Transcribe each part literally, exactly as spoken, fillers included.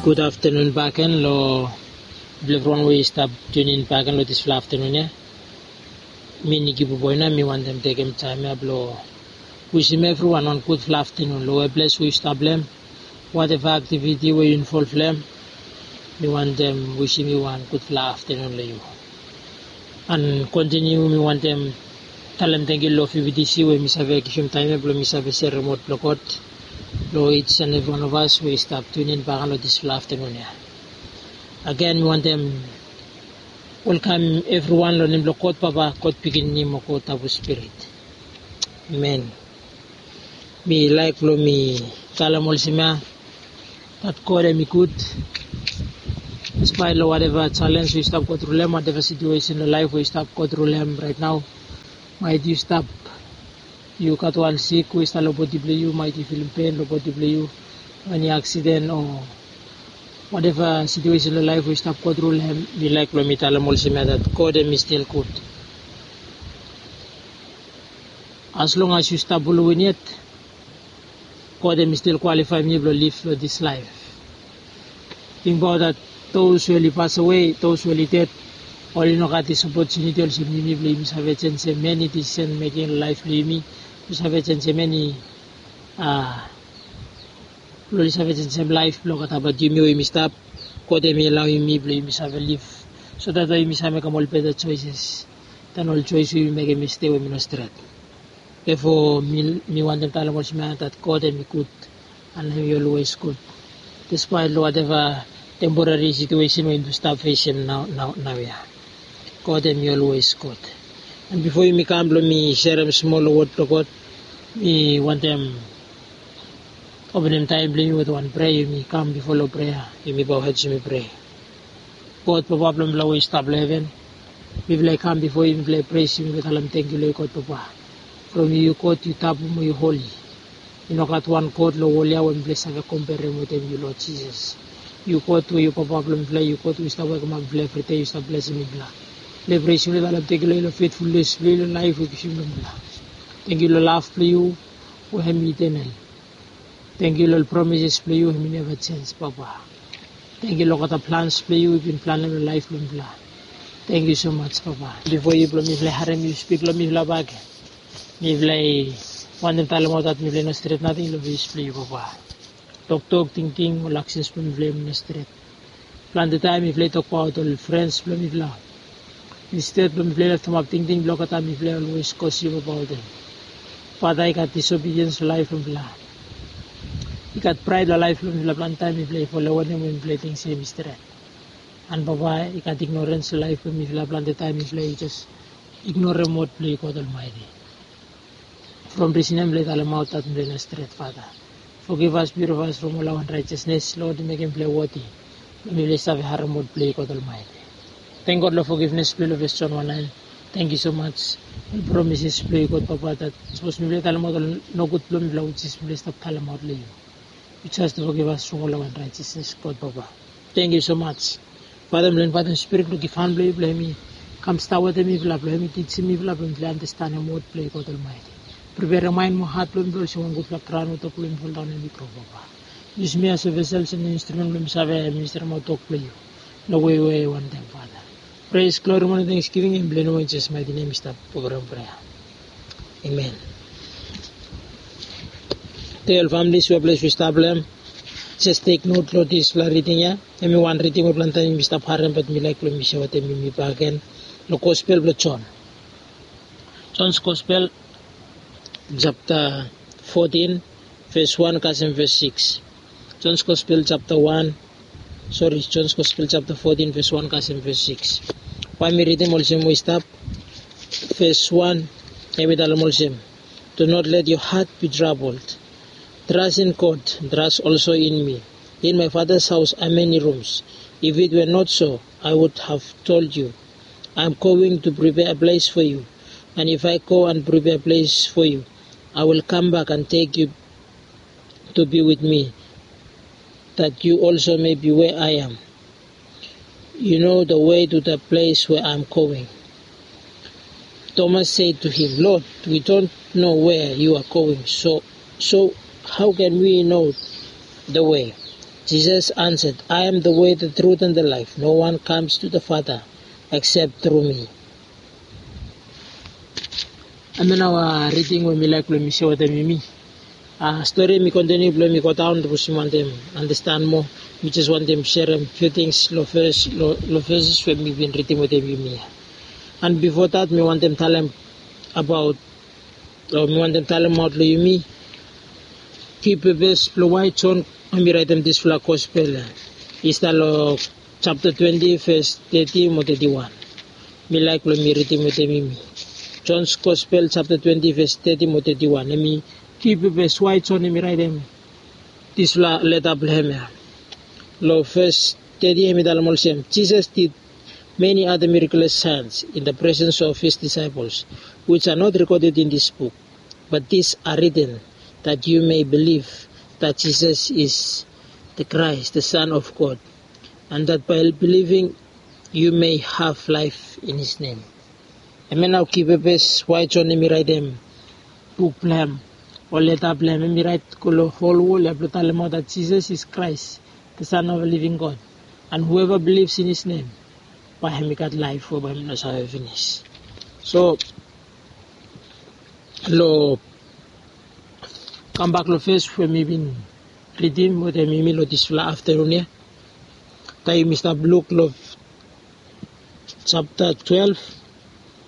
Gud aftenun baken long evriwan we i stap tunin baken long dispela aftenun ya. Mi Niki Buboina, mi wantem tekem taim ya blong wisim evriwan wan gudfala aftenun long we ples we yu stap long em, wateva aktiviti we yu invol long em. Mi wantem wisim yu wan gudfala aftenun long yu. An kontiniu mi wantem talem tangkiu long V B T C we mi save givim taim ya blong mi save serem wod blong God long each and every one of us we i stap tunin baken long dispela aftenun ya. Agen mi wantem welkam evriwan long nem blong God Papa, God Pikinini mo God Tabu Spirit. Amen. Mi laik blong mi talem olsem ya, dat God em i gud. Despite long wateva challenge we yu stap go tru long em, wateva situation long laif we yu stap go tru long em right now, maet yu stap, yu gat wan sik we i stap long bodi blong yu, maet yu filim pen long bodi blong yu, eni aksiden o wateva situation long laif we yu stap go tru long em, mi laik blong mi talem olsem ya, dat God em i stil gud. As long as yu stap buluwin yet, God em i stil kwalifaim yu blong liv long dis laif. Tingbaot dat those we oli pasawe, those we oli ded, oli no gat dis opotuniti olsem yumi blong yumi save jenisim eni decision making long laif blong yumi, blong save jenisim eni, a, blong oli save jenisim laif blong gatabaot yumi we yumi stap. God em i alaoim yumi blong yumi save liv, so dat we yumi save mekem ol beta choices dan ol choice we yumi mekem yestede we mi no stret. Therefore, mi, mi wantem talem olsem ya, dat God em i gud, an em i always gud. Despite long wateva temporary situation we yumi stap fesim nau, nau, nau ya, God em i always gud. An bifo yumi kam blong mi serem smol long wod blong God, mi wantem openem taim blong yumi with wan prea. Yumi kam bifo long prea, yumi bow head, yumi prea. God Papa blong mifala we i stap long heven, mifala i kam bifo yu, mifala i presim, mifala i talem tangkiu long yu, God Papa. From yu, yu God, yu tabu mo yu holi. I no gat wan God long wol ya we mifala i save komperem wetem yu, Lord Jesus. Yu God we yu Papa blong mifala, yu God we yu stap wokemaot mifala evri dei, yu stap blesim mifala. Mifala i presim, mifala i talem tangkiu long yu long faithfulness blong yu long laif we yu givim long mifala. Tangkiu long lav blong yu we hem i eternal. Tangkiu long ol promises blong yu we hem i neva jenj, Papa. Tangkiu long olgeta plans blong yu we yu bin planem long laif blong mifala. Tangkiu so much, Papa. Bifo yu blong mifala i harem yu spik long mifala bakegen, mifala i wantem talemaot dat mifala i no stret nating long fes blong yu, Papa. Toktok, tingting, ol aksens blong mifala i no stret. Plante taem mifala i tokbaot ol frens blong mifala. Insted blong mifala i leftemap tingting blong olgeta, mifala i olwes gosip abaot hem. Fada, i gat disobediens long laef blong mifala. I gat praed long laef blong mifala. Plante taem mifala i folem wanem we mifala i ting se hem i stret. An Papa, i gat ignorens long laef blong mifala. Plante taem mifala i jes ignorem wod blong yu, God Almaeti. From risen ya mifala i talemaot dat mifala i no stret, Fada. Fogivas, piurifas from ol unraejesnes, Lod, i mekem mifala i woti blong mifala i save harem wod blong yu, God Almaeti. Tenk God long fogivnes blong yu long Fes Jon wan naen. Tangkiu so maj. Ol promises blong yu, God Papa, dat sapos mifala i talemaot ol nogud blong mifala, wis mifala i stap talemaot long yu, yu jes fogivas from ol unraejesnes, God Papa. Tangkiu so maj. Fada, mifala i invaetem Spirit blong givhan blong yu blong hem i kam stap wetem mifala, blong hem i tijim mifala, blong mifala i andastanem wod blong yu, God Almaeti. Priperem maen mo hat blong mifala olsem wan gudfala graon we tok blong yu i foldaon na hem i gro, Papa. Yusum mi asem vesel, olsem instrumen blong mi save ministremaot tok blong yu long wei we yu wantem, Fada. Pres, glori mo tengsgiving i blong yu, long Jisas maeti nem mi stap wokem prea. Amen. Tei ol familis we ples we yu stap long hem, jes tek not long dispela riding ya. Hem i wan riding we plante taem yumi stap harem, bat mi laek blong mi share wetem yumi bakegen long Gospel blong Jon. Jon's Gospel, japta fotin, ves wan kasem ves sikis. Jon's Gospel japta wan, sori, Jon's Gospel japta fotin, ves wan kasem ves sikis. Bae mi ridim olsem we i stap. Ves wan, hem i talem olsem, "Do not let your heart be troubled. Trust in God, trust also in me. In my Father's house are many rooms. If it were not so, I would have told you. I am going to prepare a place for you. And if I go and prepare a place for you, I will come back and take you to be with me, that you also may be where I am. You know the way to the place where I am going." Thomas said to him, "Lord, we don't know where you are going, so, so how can we know the way?" Jesus answered, "I am the way, the truth, and the life. No one comes to the Father except through me." Hemia nao riding we mi laek blong mi sere wetem yumi. Stori mi kontiniu blong mi godaon, sapos yumi wantem andastan moa. Mi jes wantem serem few things long verses we mi bin ridim wetem yumi ya. And before that, mi wantem talem abaot, o mi wantem talemaot long yumi ki pepes blong why John hemi raetem disfala gospel ya. I stap long chapter twenty, verse thirty mo thirty-one. Mi laek blong mi ridim wetem yumi. John's Gospel, chapter twenty, verse thirty mo thirty-one. Hemi ki pepes why John hemi raetem disfala leta blong hem ya. Long verse thirty, hemi talem olsem, "Jesus did many other miraculous signs in the presence of his disciples, which are not recorded in this book. But these are written that you may believe that Jesus is the Christ, the Son of God, and that by believing you may have life in his name." Hemia nao ki pepes why John hemi raetem buk blong hem o leta blong hem, hemi raet go long hol wol ya blong talemaot that Jesus is Christ, the Son of the living God, and whoever believes in his name, bae hemi gat laef we bae hemi no save finis. So long kambak long verse we mi bin ridim wetem yumi long disfala aftenun ya. Taem yumi stap luk long chapter twelve,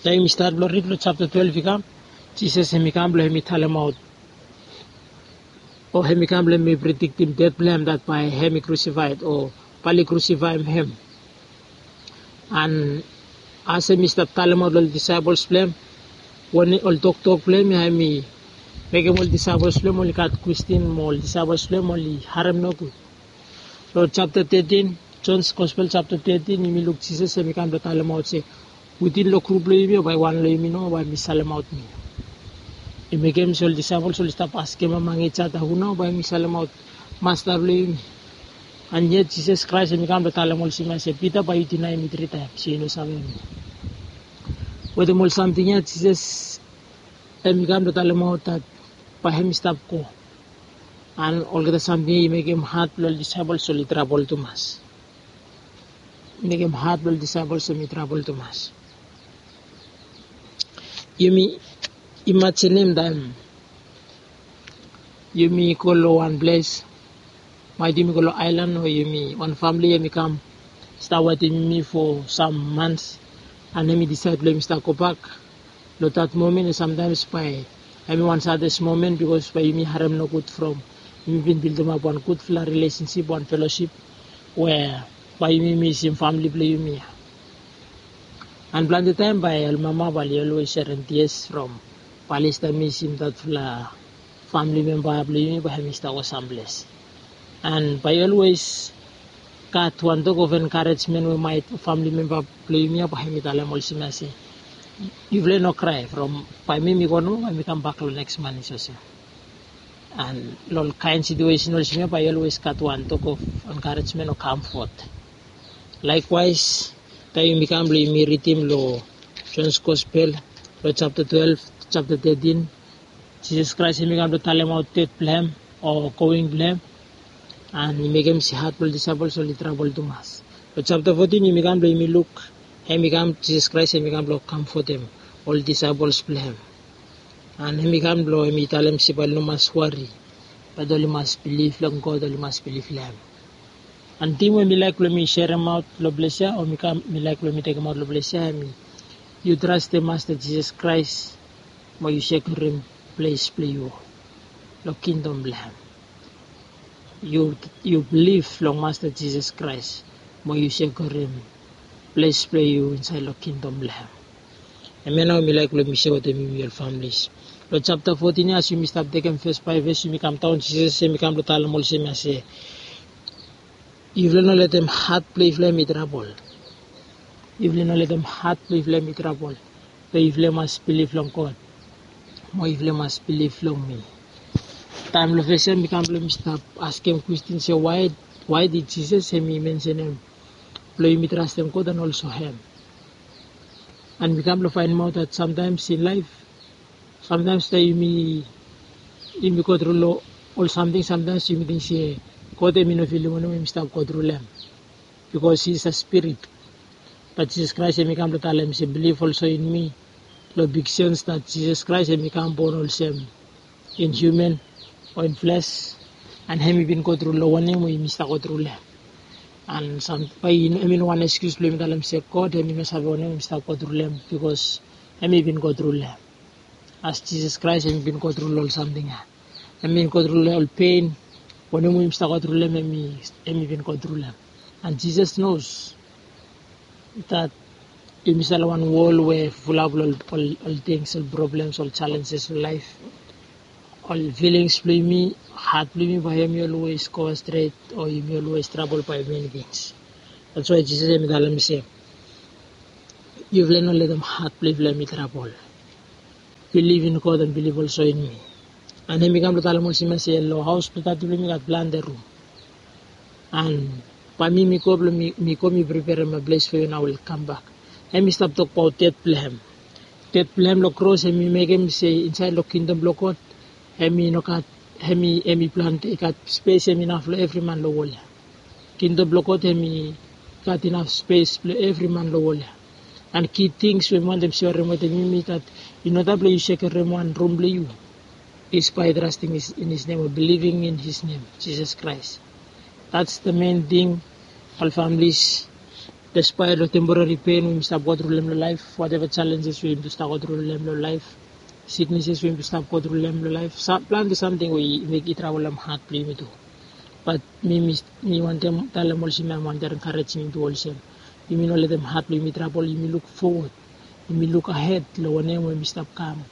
taem yumi stat blong rid long chapter twelve i kam, Jisas hemi kam blong hemi talemaot, o hemi kam blong hemi prediktim det blong hem, that bae hemi krusifaed o bae oli krusifaem hem. And as hemi stap talemaot long ol disaepels blong hem, wanem ol toktok blong hem ya, hemi mekem ol disaepels blong hem oli gat kwestin mo ol disaepels blong hem oli harem nogud. Long chapter thirteen, John's Gospel chapter thirteen, yumi luk Jisas hemi kam blong talemaot se, "Witin long grup blong yumi ya bae wan long yumi nao bae hemi salemaot mi." I mekem se ol disaepels oli stap askem among each other, "Hu nao bae hemi salemaot Masta blong yumi?" And yet Jisas Kraes hemi kam blong talem olsem ya se, "Pita, bae yu dinaem mi tri taem se yu no savem mi." Wetem ol samting ya Jisas hemi kam blong talemaot that bae hemi stap go. And olgeta samting ya i mekem hat blong ol disaepels oli trabol tumas. I mekem hat blong ol disaepels hemi trabol tumas. Yumi imajinim taem yumi go long wan ples, maet yumi go long aelan o yumi wan famili hemi kam stap wetem yumi for sam mans, and hemi disaed blong hemi stap gobak. Long that momen ya samtaems bae hemi wan sadest momen, bikos bae yumi harem nogud from yumi bin bildimap wan gudfala rilesensip, wan felosip, we bae yumi misim famili blong yumi ya. And plante taem bae ol mama bae oli olwes serem tias from bae oli stap misim datfala famili memba blong yumi bae hemi stap go samples. And bae yu olwes gat wan tok of enkarejmen we maet famili memba blong yumi ya bae hemi talem olsem ya se, "Yufala i no krae, from bae mi mi go nomo, bae mi kambak long neks manis olsem." And long ol kaen situesen olsem ya bae yu olwes gat wan tok of enkarejmen o kamfot. Laekwaes, taem yumi kam blong yumi ridim long John's Gospel, long chapter twelve, chapter thirteen, Jisas Kraes hemi kam blong talemaot det blong hem o going blong hem, and i mekem se hat blong ol disaepels oli trabol tumas. Long chapter fourteen yumi kam blong yumi luk, hemi kam, Jisas Kraes hemi kam blong kamfotem ol disaepels blong hem. And hemi kam blong hemi talem se bae oli no mas wari, bat oli mas bilif long God, oli mas bilif long hem. And tim we mi laek blong mi seremaot long ples ya, o mi kam, mi laek blong mi tekemaot long ples ya, hemi, yu trastem Masta Jisas Kraes mo yu sekiurim ples blong yu long kingdom blong hem. Yu, yu bilif long Masta Jisas Kraes mo yu sekiurim ples blong yu insaed long kingdom blong hem. Hemia nao mi laek blong mi sere wetem yumi ol familis. Long chapter fourteen ya, as yumi stap tekem ves bae ves, yumi kamdaon, Jisas hemi kam blong talem olsem ya se, yufala no letem hat blong yufala hemi trabol. Yufala no letem hat blong yufala hemi trabol. Be yufala mas bilif long God, mo yufala mas bilif long mi. Taem long ves ya mi kam blong mi stap askem kwestin se, why, why did Jesus hemi mensenem blong yumi trastem God and also hem? And mi kam blong faenemaot that sometimes in life, sometimes taem yumi, yumi go tru long ol samting, sometimes yumi ting se God hemi no filim wanem we yumi stap go tru long hem, bikos hi is a spirit. Bat Jisas Kraes hemi kam blong talem se, "Bilif olsem in mi." Long big sens dat Jisas Kraes hemi kam bon olsem in hiuman o in fles, an hemi bin go tru long wanem we yumi stap go tru long hem. An sam, bae i no, hemi no wan ekskius blong yumi talem se God hemi no save wanem we yumi stap go tru long hem, bikos hemi bin go tru long hem. As Jisas Kraes hemi bin go tru long ol samting ya. Hemi bin go tru long ol pen, wanem we yumi stap go tru long hem, hemi, hemi bin go tru long hem. An Jisas nos dat yumi stap long wan wol we fulap long ol, ol, ol tings, ol problems, ol challenges long laef. Ol filings blong yumi, hat blong yumi, bae hemi olwes go stret, o yumi olwes trabol bae many tings. That's why Jisas hemi talem se, "Yufala no letem hat blong yufala hemi trabol. Bilif in God an bilif olsem in mi." An hemi kam blong talem olsem ya se, "Long haos blong Tati blong mi gat plante rum. An bae mi, mi go blong mi, mi go mi preperem wan ples fo yu, an ae I will kam bak." Hemi stap tokbaot ded blong hem. Ded blong hem long kros hemi mekem se insaed long kingdom blong God, hemi no gat, hemi, hemi plante, i gat spes hemi inaf long evri man long wol ya. Kingdom blong God hemi gat inaf spes blong evri man long wol ya. An ki tings we mi wantem serem wetem yumi, dat i no taem blong yu sekerem wan rum blong yu. Is by trusting his, in his name, or believing in his name, Jesus Christ. That's the main thing, ol families. Despite long temporary pain we yumi stap go tru long hem long laef, whatever challenges we yumi stap go tru long hem long laef, sicknesses we yumi stap go tru long hem long laef, sam, plante samting we i mekem i trabolem hat blong yumi tu. Bat mi, mi, mi wantem talem olsem ya, mi wantem enkarejim yumi tu olsem, yumi no letem hat blong yumi trabol, yumi luk fowod, yumi luk ahed long wanem we yumi stap kam,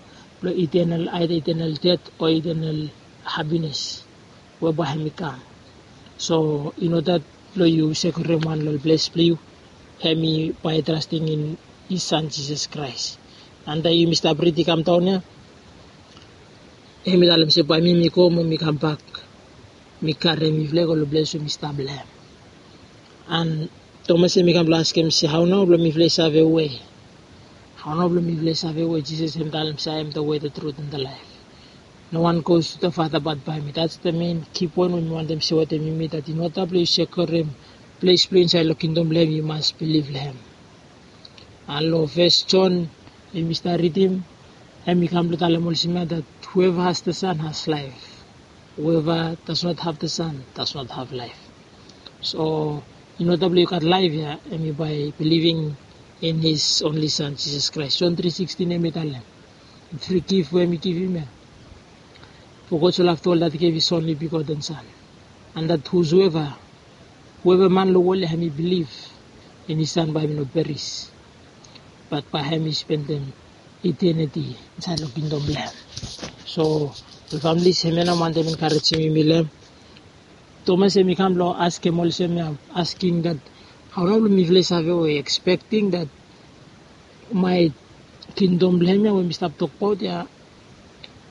long eternal, either eternal death o eternal happiness we bae hemi kam. So i no dat blong yu sekerem wan long ples blong yu, hemi by trusting in his son Jesus Christ. An taem yumi stap rid i kam daon ya, hemi talem se bae mi, mi go mo mi kambak, mi karem yufala i go long ples we mi stap long hem. An Tomas hemi kam blong askem se, hao nao blong mifala i save we? Hao nao blong mifala i save we? Jisas hemi talem se, I am the way, the truth and the life. No one goes to the Father but by me. That's the main key point we mi wantem sewe wetem yumi, dat in order blong yu sekerem ples blong yu insaed long kingdom blong hem, yu mas bilif long hem. An long First John, yumi stap ridim, hemi kam blong talem olsem ya, dat whoever has the Son has life. Whoever does not have the Son does not have life. So in order blong yu gat laef ya, hemi by believing in his only Son, Jesus Christ. John three sixteen hemi talem, free gift we hemi givim ya. For God so loved the world that he gave his only begotten Son, and that whosoever, whoever man long wol ya hemi bilif in his Son, bae hemi no peris, bat bae hemi spendem eternity insaed long kingdom blong hem. So ol families, hemia nao mi wantem enkarejim yumi long hem. Tomas hemi kam blong askem olsem ya, asking dat, hao nao blong mifala i save we? Expecting dat maet kingdom blong hem ya we mi stap tokbaot ya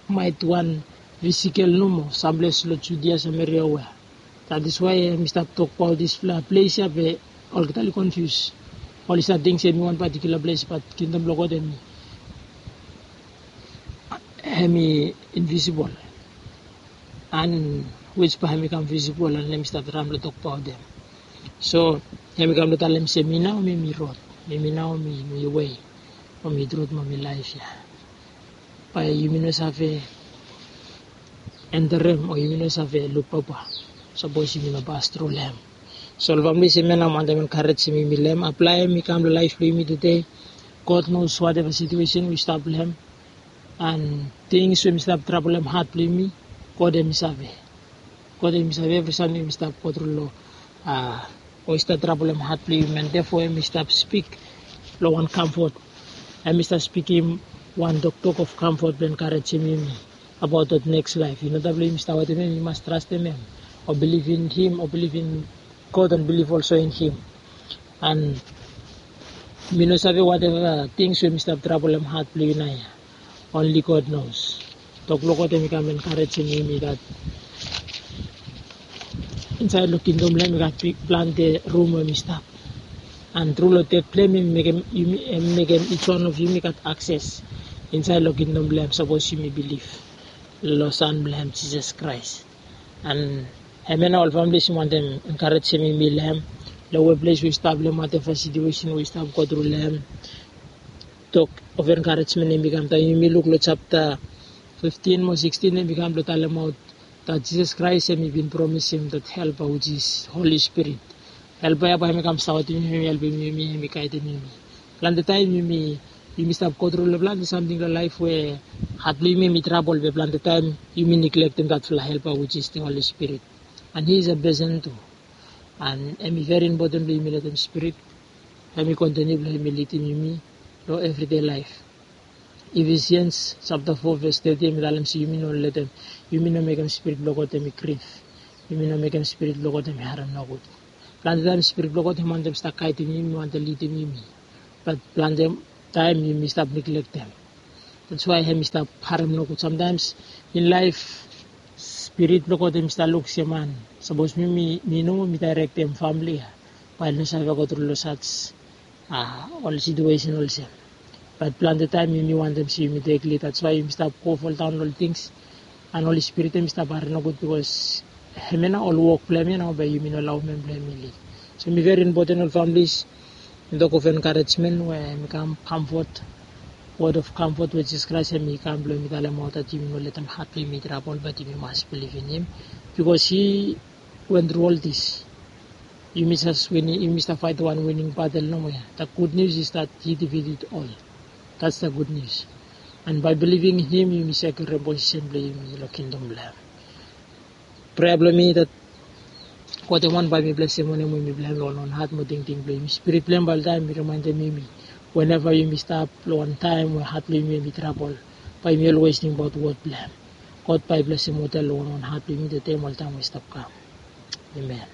maet wan physical nomo, samples long Judia, Samaria, we. That is why hemi stap tokbaot disfala ples ya, be olgeta oli confuse. Oli stap ting se hemi wan particular ples, bat kingdom blong God hemi, hemi invisible. An which bae hemi kam visible an hemi stap traem blong tokbaot hem. So hemi kam blong talem se, mi nao mi, mi rod. Mi, mi nao mi, mi wei, mo mi trut, mo mi laef ya. Bae yumi no save enterem, o yumi no save luk Papa sapos yumi no pas tru long hem. So ol families, hemia nao mi wantem enkarejim yumi long hem. Aplaem i kam long laef blong yumi tede. God knows whatever situation we stap long hem. An tings we mi stap trabolem hat blong yumi, God hemi save. God hemi save evri samting we mi stap go tru long, a, o i stap trabolem hat blong yumi. An therefore hemi stap spik long wan comfort. Hemi stap spikim wan toktok of comfort blong enkarejim yumi abaot that next life. In order blong yumi stap wetem hem, yu mas trastem hem, o bilif in him, o bilif in God, an bilif olsem in him. An mi no save whatever tings we mi stap trabolem hat blong yu naoia. Only God knows. Tok blong God hemi kam enkarejim yumi dat insaed long kingdom blong hem i gat big plante rum we mi stap. An tru long ded blong hem, hemi mekem yumi, hemi mekem each one of yumi gat akses insaed long kingdom blong hem sapos yumi bilif long Son blong hem, Jisas Kraes. An Hemia nao ol families mi wantem encouragem yumi long hem, long we ples we i stap, long whatever situation we i stap go tru long hem. Tok of encouragement hemi kam taem yumi luk long chapter fifteen mo sixteen, hemi kam blong talemaot that Jesus Christ hemi bin promisem that helper, which is Holy Spirit. Helper ia bae hemi kam saotem yumi, hemi helpem yumi, hemi gaedem yumi. Plante taem yumi, yumi stap go tru long plante samting long laef we hat blong yumi hemi trabol, be plante taem yumi neglectem that fala helper, which is the Holy Spirit. And he is a person too. And hemi very important blong yumi letem Spirit hemi continue blong hemi lidim yumi long everyday laef. Ephesians chapter four verse thirty hemi talem se yumi no letem, yumi no mekem Spirit blong God hemi grief. Yumi no mekem Spirit blong God hemi harem nogud. Plante taem Spirit blong God hemi wantem stap gaedem yumi, wantem lidim yumi. But plante taem yumi stap neglectem. That's why hemi stap harem nogud. Sometimes in life, Spirit blong God hemi stap luk se man, sapos mi, mi, mi nomo mi directem family ia, bae i no save go tru long such, ah, ol situation olsem. But plante taem yumi wantem se yumi tek lead, that's why yumi stap go fall down long ol things. And Holy Spirit hemi stap harem nogud, because hemia nao ol wok blong hem ia nao bae yumi no alaoem hem blong hemi lead. So hemi very important, ol families. Mi tok of encouragement we hemi kam comfort, word of comfort we Jesus Christ hemi kam blong hemi talemaot that yumi no letem hat blong yumi trabol, but yumi mas bilivim him, because he went through all this. Yumi stap win, yumi stap faetem wan winning battle nomo ia. The good news is that he defeated all. That's the good news. And by believing him, yumi sekiurem posisen blong yumi long kingdom blong hem. Prea blong mi that God hemi wantem bae mi blesem wanem we mi blong hem long wan hat mo tingting blong yumi. Spirit blong hem bae oltaem i rimaendem yumi, whenever yumi stap long wan taem we hat blong yumi hemi trabol, bae yumi always tingbaot word blong hem. God bae i blesem oltaem long wan hat blong yumi, tede mo ol taem we i stap kam. Amen.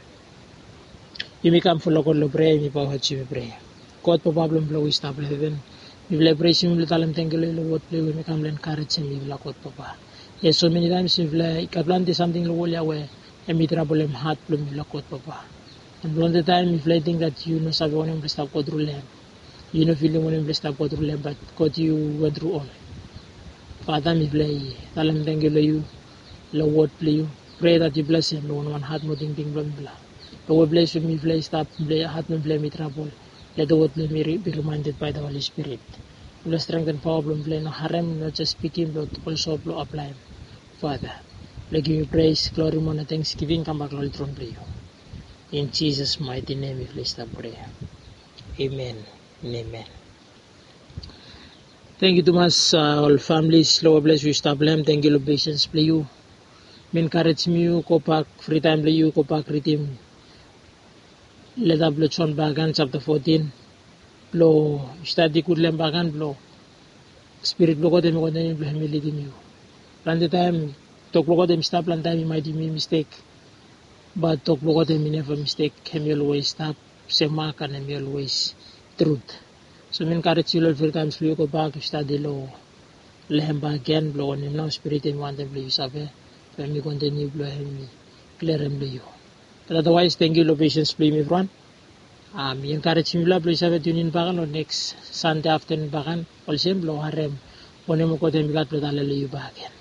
Yumi kam folo God long prea, yumi paoa yumi prea. God Papa blong mi, we i stap long heven, mifala i presim yu, mifala i talem tangkiu long yu long word blong yu we hemi kam blong encouragem mifala, God Papa. Yes, so many times mifala i gat plante samting long wol ia we hemi trabolem hat blong mifala, God Papa. And plante taem mifala i ting that yu no save wanem mifala i stap go tru long hem. Yu no filim wanem mifala i stap go tru long hem, but God, yu went through all. Father, mifala i talem tangkiu long yu long word blong yu. Prea that yu blesem long wan hat mo tingting blong mifala. Long we ples we mifala i stap, mifala i hat blong mifala hemi trabol, let the word blong hemi be reminded by the Holy Spirit. Mifala strengthen paoa blong mifala i no harem, no jes spikim, but also blong aplaem. Father, mifala givim yu praise, glory mo thanksgiving i kambak long ol tron blong yu. In Jesus' mighty name mifala i stap prea. Amen and amen. Tangkiu tumas, ah, ol families long we ples we yu stap long hem. Tangkiu long patience blong yu. Mi encouragem yu gobak free time blong yu, gobak ridim leta blong John bakegen, chapter fourteen. Blong stadi gud long hem bakegen, blong Spirit blong God hemi kontiniu blong hemi lidim yu. Plante taem tok blong God hemi stap, plante taem i maet yumi mistek. But tok blong God hemi neva mistek, hemi always stap semak and hemi always truth. So mi encourage yu long free times blong yu gobak yu stadi long, long hem bakegen, blong wanem nao Spirit hemi wantem blong yu save, blong hemi kontiniu blong hemi kliarem long yu. But otherwise, tangkiu long patience blong yumi evriwan. Ah, mi encourage mifala blong yu save tune in bakegen long next Sunday afternoon bakegen, olsem blong harem wanem we God hemi gat blong tale long yu bakegen.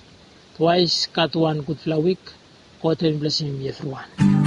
Otherwise, gat wan gudfala wik. God hemi blesem yumi evriwan.